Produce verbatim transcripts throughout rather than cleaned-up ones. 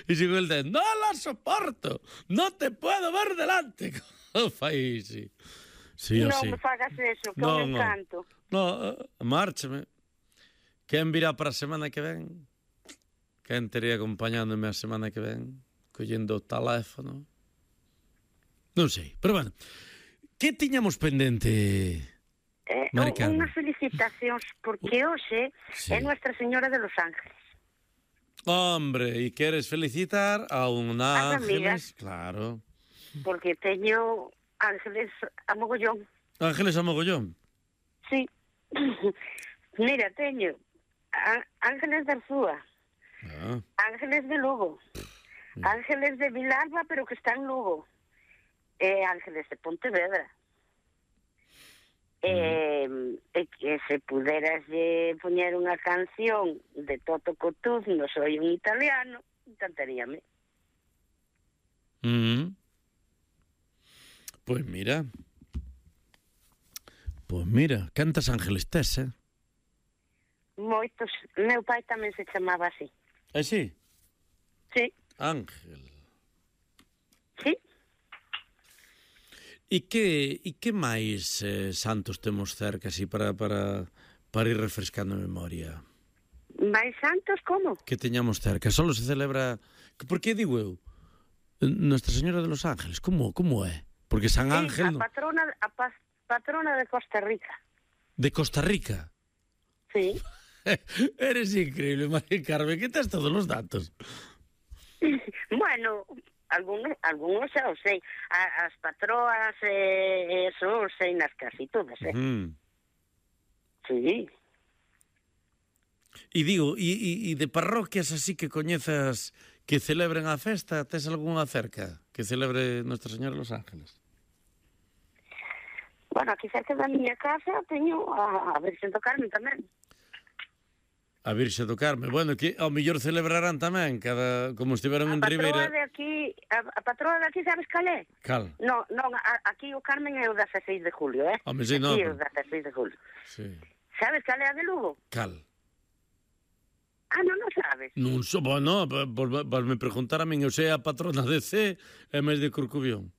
E sigo el de, no la soporto, no te puedo ver delante. Fai, sí. Sí, non sí. me fagas eso, que no, é un no. encanto. No, márchame. Quen virá para a semana que ven? Quen tería acompañándome a semana que ven? Collendo o teléfono? Non sei, pero bueno. Que tiñamos pendente, Eh, Mari Carmen? Unhas felicitacións, porque hoxe Sí. é Nuestra Señora de los Ángeles. Hombre, e queres felicitar a un As Ángeles? amigas. Claro. Porque teño ángeles a mogollón. Ángeles a mogollón. Sí. Mira, teño á- Ángeles de Arzúa, Ah. Ángeles de Lugo, Ángeles de Vilalba, pero que está en Lugo, e Ángeles de Pontevedra. E, e que se puderas eh, poñer unha canción de Toto Cotugno, Soy un italiano, encantaríame. Mm. Pois mira. Pois mira, cantas ángeles tes, eh? Moitos. Meu pai tamén se chamaba así. É si? Sí, Ángel. sí. E que, e que máis eh, santos temos cerca así para, para, para ir refrescando a memoria? Mais santos como? Que teñamos cerca. Solo se celebra... Por que digo eu? Nuestra Señora de los Ángeles. Como, como é? Porque San Sí, Ángel... a patrona, a pa- patrona de Costa Rica. De Costa Rica. Sí. Eres increíble, María Carmen. Que tes todos os datos? Bueno, algunos, algunos xa o sei. A, as patroas, eh, eso, o sei nas casi todas, eh? Mm. Sí. E digo, e, e, e de parroquias así que coñezas que celebren a festa, tes algunha cerca que celebre Nuestra Señora de los Ángeles? Bueno, aquí cerca da miña casa teño a, a Virxen do Carmen tamén. A Virxe do Carme. Bueno, que ao mellor celebrarán tamén, cada como estiveron A en patroa Ribeira. de aquí, a, a patroa de aquí, sabes cal é? Cal? No, non, a, aquí o Carmen é o dezasseis de julio, eh? Home, sí, aquí no, é pero- o dezasseis de julio. Sí. Sabes cal é a de Lugo? Cal? Ah, non, non sabes. Non so, bueno, volve preguntar a min, eu sei a patrona de C e máis de Corcubión.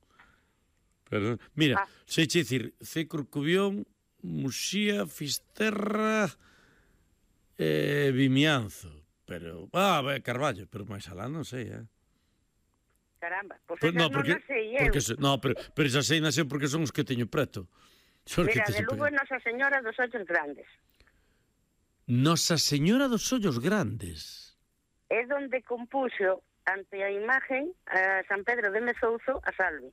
Pero, mira, Ah. sei che dicir, C Corcubión, Muxía, Fisterra e Vimianzo. Pero, ah, be, Carballo, pero máis alá non sei, eh. Caramba, pois Pues, esa no, non porque, a sei eu. porque se, no, pero, pero esa sei nasceu porque son os que teño preto. Son os que Mira, de teño Lugo é preto. Nosa Señora dos Ollos Grandes. Nosa Señora dos Ollos Grandes. É donde compuxo ante a imagen a San Pedro de Mezouzo a Salve.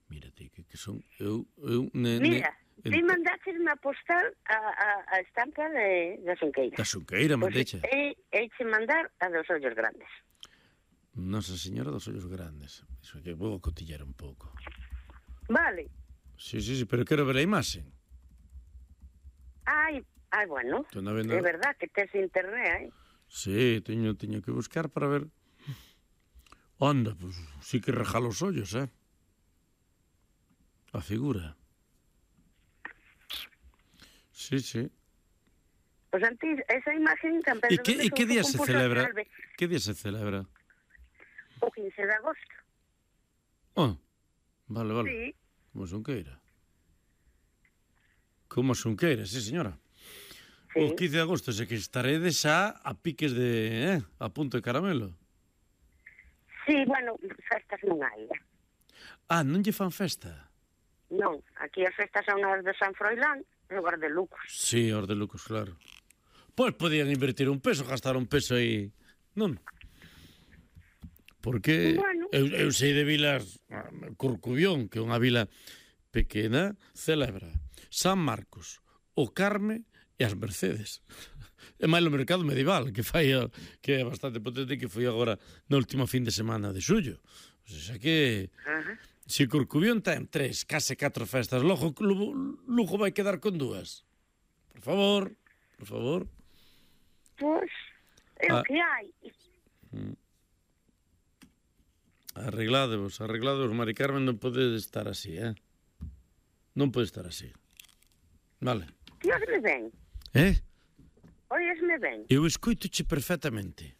Mírate, que, que son... Eu, eu, ne, ne, Mira, ti mandaches na postal a, a, a estampa de, da Xunqueira. Da Xunqueira, Pois mandeche. é, eiche mandar a dos Ollos Grandes. Nosa Señora dos Ollos Grandes. Iso é que vou cotillar un pouco. Vale. Sí, sí, sí, pero quero ver a imaxe. Ai, ai, bueno, Tú non vendo- é verdad que tes internet, eh? Sí, teño, teño que buscar para ver. Onda, pues sí que rejalo os ollos, eh? A figura. Sí, sí. Pois antes, esa imagen San E Pedro que, de e que Mezouzo día se compuxo a celebra? Salve Que día se celebra? o quince de agosto. Oh, vale, vale. Sí. Como Xunqueira. Como Xunqueira, sí, señora. Sí. O quince de agosto, se que estaredes xa a piques de... Eh, a punto de caramelo. Sí, bueno, festas non hai, eh? Ah, non lle fan festa? Non, aquí as festas son as de San Froilán e o de Lucos. Sí, os de Lucos, claro. Pois podían invertir un peso, gastar un peso aí, non? Porque Bueno. eu, eu sei de vilas, Corcubión, que é unha vila pequena, celebra San Marcos, o Carme e as Mercedes. É máis o mercado medieval, que fai a, que é bastante potente, que foi agora na última fin de semana de xullo. O sea que... Ajá. Se Corcubión ten tres, case catro festas, logo Lugo, Lugo vai quedar con dúas. Por favor, por favor. Pois, é o Ah. que hai. Arregladevos, arregladevos, Mari Carmen, non pode estar así, eh? Non pode estar así. Vale. Ti oísme ben? Eh? Oísme ben? Eu escoitoche perfectamente.